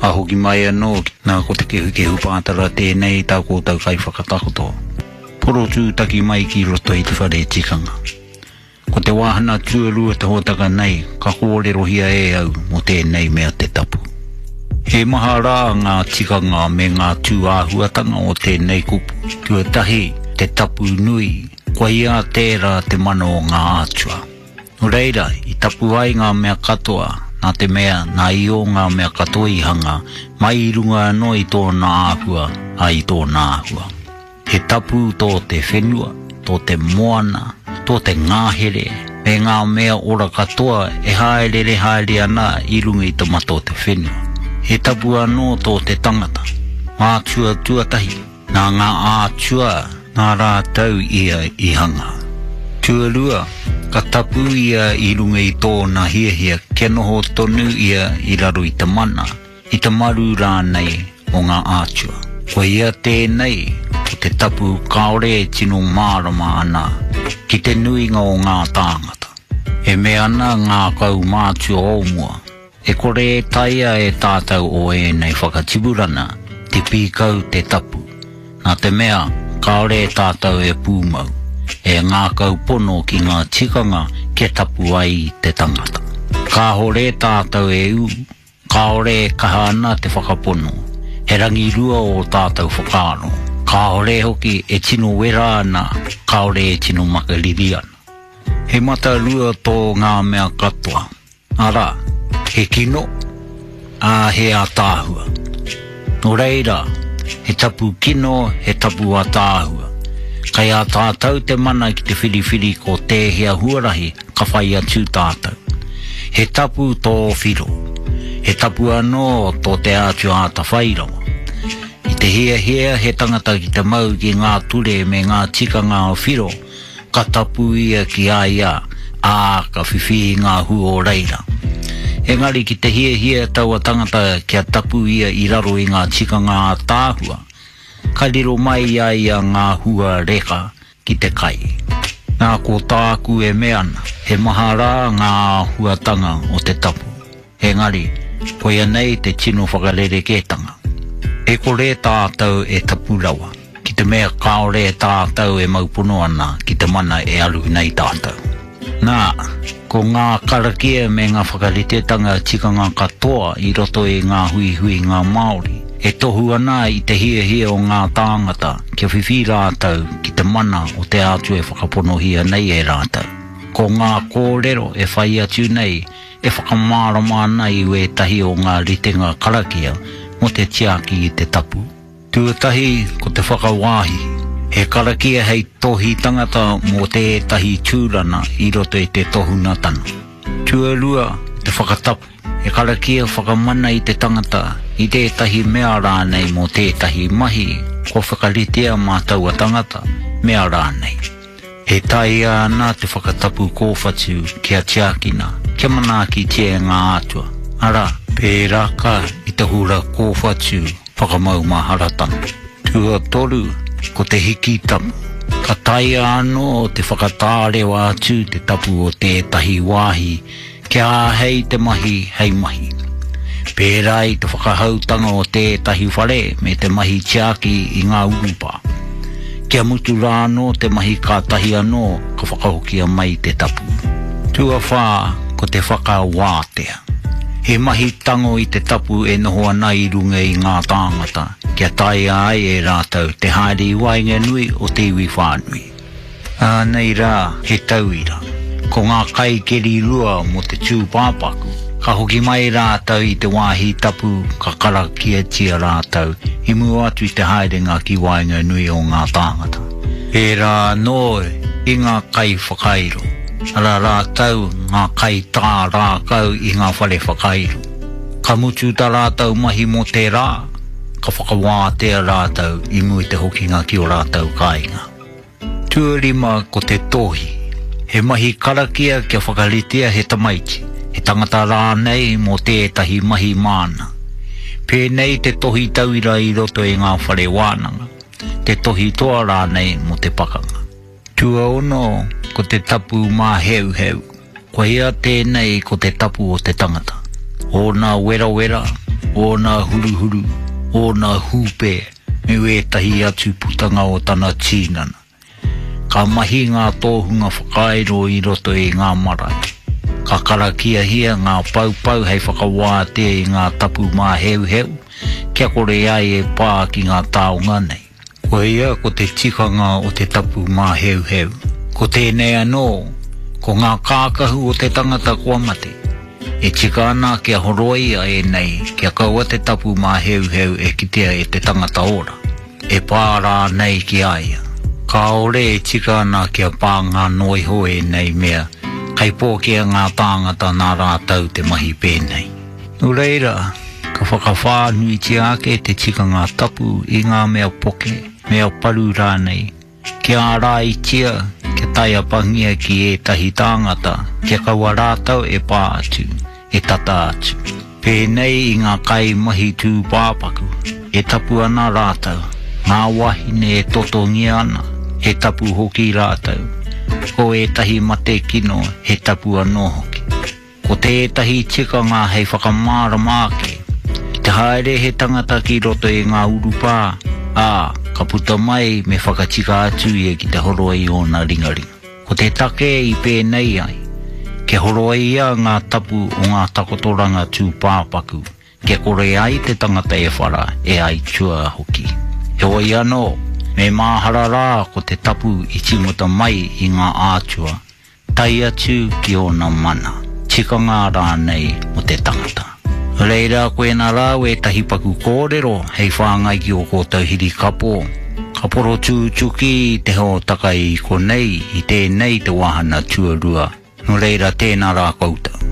Ka hoki mai anō, nā ko Te Kehukehu Pātara tēnei tā kōtou kaiwhakatakoto. Porotūtaki mai ki roto i te whare tikanga. Ko te wāhana tuarua te hōtaka nei ka kōrerohia e au mō tēnei mea te tapu. He maha rā ngā tikanga me ngā tūāhuatanga o tēnei kupu. Tuatahi, te tapu nui, koia tērā te mana o ngā atua. Nō reira, i tapu ai ngā mea katoa, nā te mea nā Io ngā mea katoa i hanga, mai i runga anō i tōna āhua, ā, i tōna āhua. He tapu tō te whenua, tō te moana, tō te ngahere, me ngā mea ora katoa e hāereere haere ana i runga i te mata o te whenua. He tapu anō tō te tangata, mātua tuatahi, nā ngā ātua nā rātou ia i hanga. Tuarua, ka tapu ia i runga i tōna hiahia kia noho tonu ia i raro i te mana, i te maru rānei o ngā ātua. Koia tēnei ko te tapu kāore e tino mārama ana ki te nuinga o ngā tāngata. E mea ana ngā kaumātua o mua, e kore e taea e tātou o ēnei whakatipurana te pīkau te tapu, nā te mea kāore tātou e pūmau, e ngākau pono ki ngā tikanga kia tapu ai te tangata. Kāore tātou e ū, Kāore e kaha ana te whakapono, he rangirua ō tātou whakaaro, kāore hoki e tino wera ana, kāore e tino makariri ana. He matarua tō ngā mea katoa, arā, he kino, ā, he ātaahua. Nō reira, he tapu kino, he tapu ātaahua. Kei a tātou te mana ki te whiriwhiri ko tēhea huarahi ka whai atu tātou. He tapu tō whiro. He tapu anō tō te Atua atawhai rawa. I te hiahia he tangata ki te mau ki ngā ture me ngā tikanga o whiro, ka tapu ia ki a ia, ā, ka whiwhi i ngā hua o reira. Engari ki te hiahia taua tangata kia tapu ia i raro i ngā tikanga ātaahua, ka riro mai i a ia ngā hua reka ki te kai. Nā ko tāku e mea ana, he maha rā ngā āhuatanga o te tapu. Engari, koia nei te tino whakarerekētanga. E kore tātou e tapu rawa, ki te mea kāore tātou e mau pono ana ki te mana e aru nei tātou. Nā, ko ngā karakia me ngā whakaritetanga tikanga katoa i roto i ngā huihuinga Māori, e tohu ana i te hiahia o ngā tāngata kia whiwhi rātou ki te mana o te Atua e whakaponohia nei e rātou. Ko ngā kōrero e whai atu nei e whakamārama ana i wētahi o ngā ritenga karakia mō te tiaki i te tapu. Tuatahi ko te whakawāhi, he karakia hei tohi tangata mō tētahi tūrana i roto i te tohunatanga. Tuarua, te whakatapu, he karakia whakamana i te tangata, i tētahi mea rānei mō tētahi mahi kua whakaritea mā taua tangata, mea rānei. E taea ana te whakatapu kōwhatu kia tiakina, kia manaakitia e ngā atua, arā, pērāka i te hura kōwhatu whakamaumaharatanga. Tuatoru, ko te hiki tapu. Ka taea anō te whakatārewa atu te tapu o tētahi wāhi kia āhei te mahi hei mahi. Pērā i te whakahoutanga o tētahi whare me te mahi tiaki i ngā urupā. Kia mutu rā anō te mahi kātahi anō ka whakahokia mai te tapu. Tuawhā, ko te whakawātea. He mahi tango i te tapu e noho ana i runga i ngā tāngata kia taea ai e rātou te haere i waenganui o te iwi whānui. Ānei rā he tauira. Ko ngā kaikeri rua mō te tūpāpaku, ka hoki mai rātou i te wāhi tapu ka karakiatia rātou i mua atu i te haerenga ki waenganui o ngā tāngata. Pērā anō i ngā kaiwhakairo, arā rātou ngā kaitā rākau i ngā whare whakairo. Ka mutu tā rātou mahi mō te rā, ka whakawātea rātou i mua i te hokinga ki ō rātou kāinga. Tuarima ko te tohi, he mahi karakia kia whakaritea he tamaiti, he tangata rānei mō tētahi mahi māna. Pēnei te tohi tauira i roto i ngā whare wānanga. te tohi toa rānei mō te pakanga. Tuaono, ko te tapu māheuheu. Koia tēnei ko te tapu o te tangata. Ōna werawera, ōna huruhuru, ōna hūpē, me wētahi atu putanga o tana tīnana. Ka mahi ngā tōhunga whakairo i roto i ngā marae. Ka karakiahia ngā paupau hei whakawātea i ngā tapu māheuheu kia kore ai e pā ki ngā taonga nei. Koia ko te tikanga o te tapu māheuheu. Ko tēnei anō, ko ngā kākahu o te tangata kua mate. E tika ana kia horoia ēnei kia kaua te tapu māheuheu e kitea e te tangata ora, e pā rānei ki a ia. Kāore e tika ana kia pānga noa iho ēnei mea, kei pōkea ngā tāngata nā rātou te mahi pēnei. Nō reira, ka whakawhānuitia ake te tikanga tapu i ngā mea poke, mea paru rānei, kia āraitia, kia taiapangia ki ētahi tāngata, kia kaua rātou e pā atu, e tata atu. Pēnei i ngā kaimahi tūpāpaku, e tapu ana rātou, ngā wāhine e totongia ana, he tapu hoki rātou, ko ētahi mate kino he tapu anō hoki. Ko tētahi tikanga hei whakamārama ake, ki te haere he tangata ki roto i ngā urupā, ā, ka puta mai me whakatika atu ia ki te horoi i ōna ringaringa. Ko te take i pēnei ai, kia horoia ngā tapu o ngā takotoranga tūpāpaku, kia kore ai te tangata e whara, e aituā hoki. Heoi anō, me māhara rā ko te tapu i tīmata mai i ngā ātua, tae atu ki ōna mana, tikanga rānei o te tangata. Reira koena rā wētahi paku kōrero hei whāngai ki ō kōtou hirikapo, ka porotūtuki te hōtaka i konei i tēnei te wāhana tuarua, nō reira tēnā rā koutou.